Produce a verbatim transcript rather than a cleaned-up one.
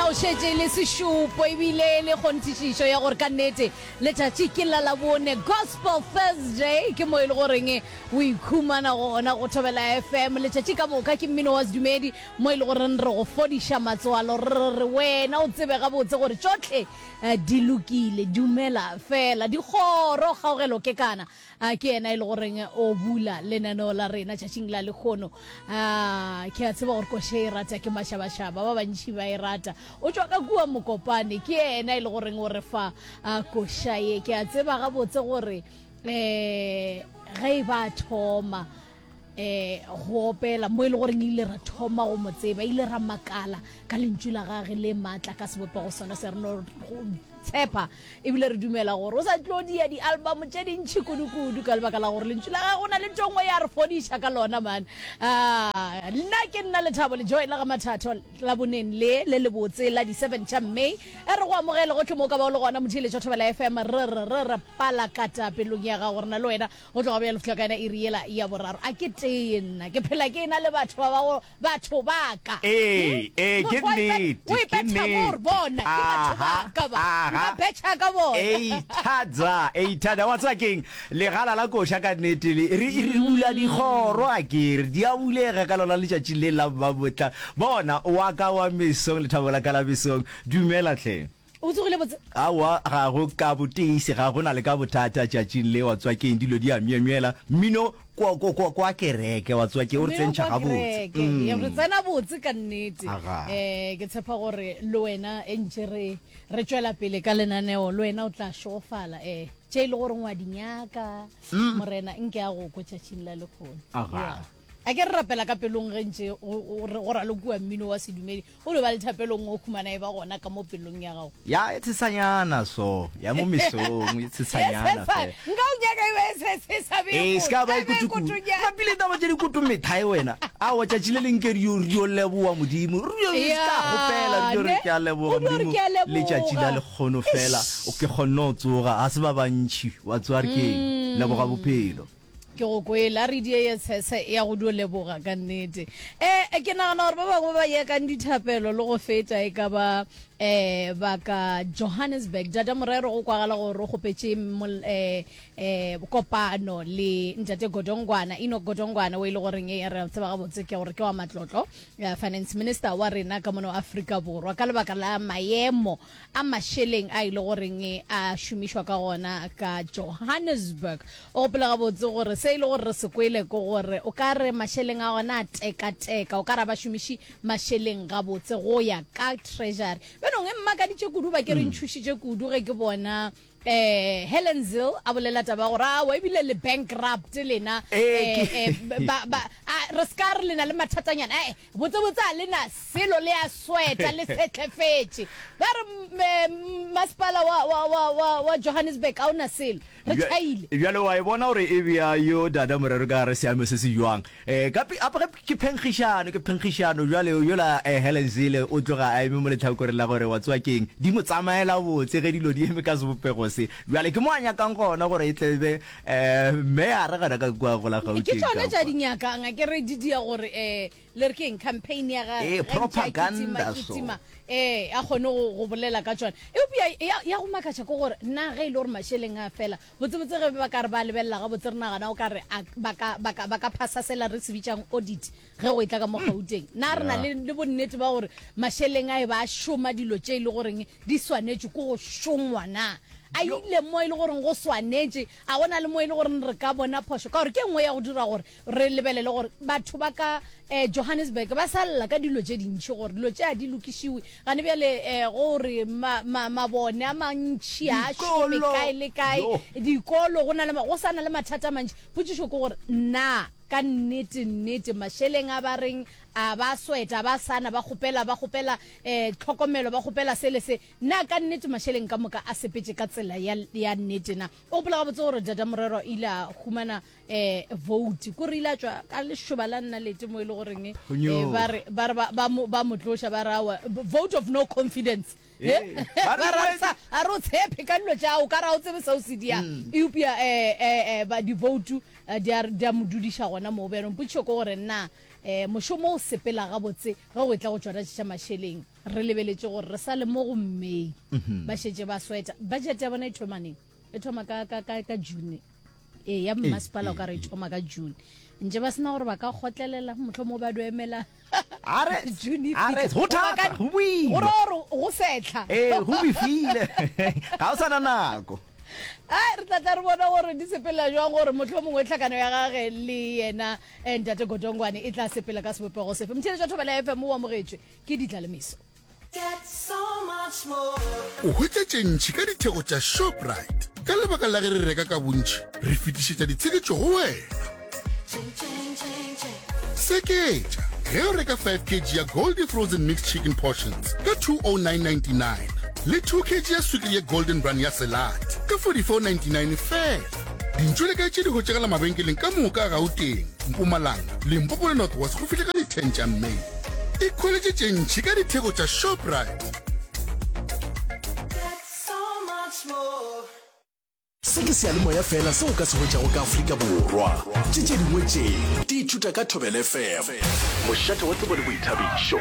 Seo šetše e le sešupo ebile e le kgonthišišo ya gore ka nnete letšatši ke la Labone, Gospel Thursday, ke mo e le goreng o ikhumana gona go Thobela F M. Letšatši ka moka ke mmino wa sedumedi, mo e le goreng re go fodiša matswalo, re re wena o tsebe gabotse gore tšohle di lokile. Dumela fela. Dikgoro, Kgaogelo Kekana ke yena e le goreng o bula lenaneo la rena tšatšing la lekgono. Ke a tseba gore koše e rata ke mašabašaba, ba bantši ba e rata. O tšwa ka kua Mokopane, ke yena e le goreng o re fa koša ye. Ke a tseba gabotse gore um ge e ba thoma um go opela, mo e le goreng ile ra thoma go mo tseba, ile ra makala ka lentšu la gage le maatla ka sebopego sona se. Re no tshepa ebile re dumela gore o sa tlo dia di-album tše dintšhi kudu-kudu, ka lebaka la gore lentšu la gage go na le ntho nngwe ya re fodiša ka lona man. Nna ke nna Lethabo Lejoe la ga Mathatho. La boneng le le lebotse la di-seven tša May, e re go amogele gotlhe mo o ka ba o le gona, motheeletša Thobela F M. Re re re re palakata pelong ya gago, re na le wena go tloga bjale fihla ka yona iri yela ya boraro. A ke tee nna ke phela ke na le batho ba ba batho ba ka. Ee, ee, ke nnete, o ke ipetha mo re nnete. bona ke batho ba Aha, ka ba nka aha. betšha ka bona. Eithadza, eithadza. Wa tseba keng? Legala la koša ka nnete le re re bula dikgoro, a ke re di a bulega ka lona letšatši le la Mmabotla. Bona wa ka wa mesong, lethabo la ka la mesong. Dumela hle. O tsogile botse? Aowa, ga go ka boteisi, ga go na le ka bothata tšatšing le, wa tseba keng, dilo di a myemyela. Mmino kwa, kwa, kwa, kwa kereke, wa tseba keng, o re Mmino tsentšha kwa gabotse. kereke ye re tsena botse ka nnete. Aga. um ke tshepa gore le wena e ntše re re tšwela pele ka lenaneo, le wena o tla šogofala um tše e le gore ngwa di nyaka. Morena nke a go kwe tšatšing la lekgono. Aga. Yeah. A ke re rapela ka pelong ge ntše go go ralokiwa mmino wa sedumedi, o no ba le thapelong o khumana e ba gona ka mo pelong ya gago. Ya e tshesanyana so, ya mo mesong e tshesanyana fela. Nka o nyaka e ba e se sa be Ee, se ka ba e e be kutukutu. kutunyana. Mapile taba tše dikutu methae wena. Aowa, tšatši le leng ke re yo re yo leboga Modimo. Re yo se ka kgopela, re yo re ne ke a leboga o dio re Modimo ke a letšatši la leboga. lekgono fela. O ke kgonne go tsoga, ga se ba bantši. Wa tseba re keng? Leboga bophelo. Ke go kwele a re die ye tshese ya go dio leboga ka nnete. um ke nagana gore ba bangwe ba yekang dithapelo le go feta e ka ba um ba ka Johannesburg. Dada Morero, go kwagala gore o kgopetše um um kopano le ntate Godongwana, Enoch Godongwana, o e le goreng e re tseba gabotse ke gore ke wa matlotlo, eh, finance minister wa rena ka mono Afrika Borwa, ka lebaka la maemo a mašeleng a e le goreng a šomišwa ka gona ka Johannesburg. O gopola gabotse gore se e le gore re se kwele ke gore o ka re mašeleng a gona a tekateka, o ka re ba šomiše mašeleng gabotse go ya ka Treasury. Bjanong e mmakaditše kudu, ba ke re ntšhošitše kudu ge ke bona eh Helen Zille a bolela taba gore awa ebile le bankrupt lena. Ee, eh, ke- eh, ba ba a re ska re lena le mathatanyana, eh botse botse a lena selo, le a sweta le setlefetše. Ba re mm, eh, masepala wa wa wa wa wa Johannesburg a ona selo, re Bja- tšhaile. Bjale wa e bona gore e bea yo Dada Morero ka gare seame se se jwang. um ka pe- ape ge ke phenkgišano, ke phenkgišano jwale yola um Helen Zille o tloga a eme mo letlhakoreng la gore wa tseba keng, di mo tsamaela botse ge dilo di eme ka sebopego se. Bjale ke mo a nyakang gona gore e tlebe um meyara gona ka kua go la Ke Gauteng tšone ka tša kwa. di nyakang, a ke re di dia gore um le re ke eng, campaign ya gage Ee, ge ntše a propaganda kitima so. kitima, ee a kgone go go bolela ka tšona. Eupša ya ya go makatša ke gore nna ge e le gore mašeleng a fela botsebotse, ge ba ka re ba lebelela gabotse, re nagana o ka re a ba ka ba ka ba ka phasa sela re se bitsang audit ge go e tla ka mo Gauteng. Na re na Yeah. le le bonnete ba gore mašeleng a e ba a šoma dilo tše e le goreng di swanetše ke go šongwa? Na a Yo. ile mo e le goreng go swanetše? A gona le mo e le goreng re ka bona phošo? Ka gore ke e nngwe ya go dira gore re lebelele gore batho ba ka um Johannesburg ba sa lla ka dilo tše dintšhi, gore dilo tše a di lokišiwe gane bjale, um gore ma- ma- mabone a mantšhi a šome Dikolo. kae le kae. Yo. Dikolo go na le ma- go sa na le mathata a mantši. Potšišo ke gore na ka nnete nnete mašeleng a ba reng a ba sweta, ba sana ba kgopela, ba kgopela um tlhokomelo, ba kgopela se le se, na ka nnete mašeleng ka moka a sepetše ka tsela ya, ya nnete na? O gopola gabotse gore Dada Morero ile a humana um vote, kore ile a tšwa ka lešoba la nnalete mo e le goreng eh, Phonyoga. ba re ba re ba- ba mo ba mo tloša, ba re awa, vote of no confidence. Ee, ba re ba re wetse- sa a re o tshepe ka dilo tšao, ka re a o tsebe seo se diang, eupša um um di-vote eh, di a di a mo dudiša gona moo. Bjanong potšišo ke gore na um mošomo o sepela gabotse ge go e tla go tšona tša mašeleng? Re lebeletše gore re sa le mo go May, ba šetše ba sweta. Budget ya bona e thoma neng? E thoma ka, ka, ka, ka June. Ee, ya mmasepala o ka re e thoma ka June. Ntše ba sena gore ba ka kgotlelela, mohlomongwe ba do emela A re, June e a re, fihle. go Goba thata, ka, go go boima. ra gore go sehla. Ee, go befile. Ga o sa na nako. Ai, re tla tla re bona gore di sepela jwang, gore mohlomongwe tlhakano ya gage le yena eh, Ntate Godongwane e tla sepela ka sebopego sefe. Motheeletši wa Thobela F M o amogetšwe ke Ditlalemeso. O hwetša tše ntši ka ditheko tša Shoprite. Ka lebaka la ge re reka ka bontši, re fetišetša ditsheketšo go wena. Seketša ge o reka five kg ya Goldie Frozen Mixed Chicken Portions ka two oh nine ninety-nine le two kg ya swikiri ya Golden Run ya Selate ka forty-four ninety-nine fela. Dintšo le kae tše di hwetšagala mabenkeleng ka moka a Gauteng, Mpumalanga, Limpopo le North West go fihla ka di ten tša May. Ikhweletše tše ntši ka ditheko tša Shoprite. Se ke seyalemoya fela seo o ka se hwetšago ka Afrika Borwa. Tše tše dingwe tše di ithuta ka Thobela F M. Mošate wa tsebo le boithabišo.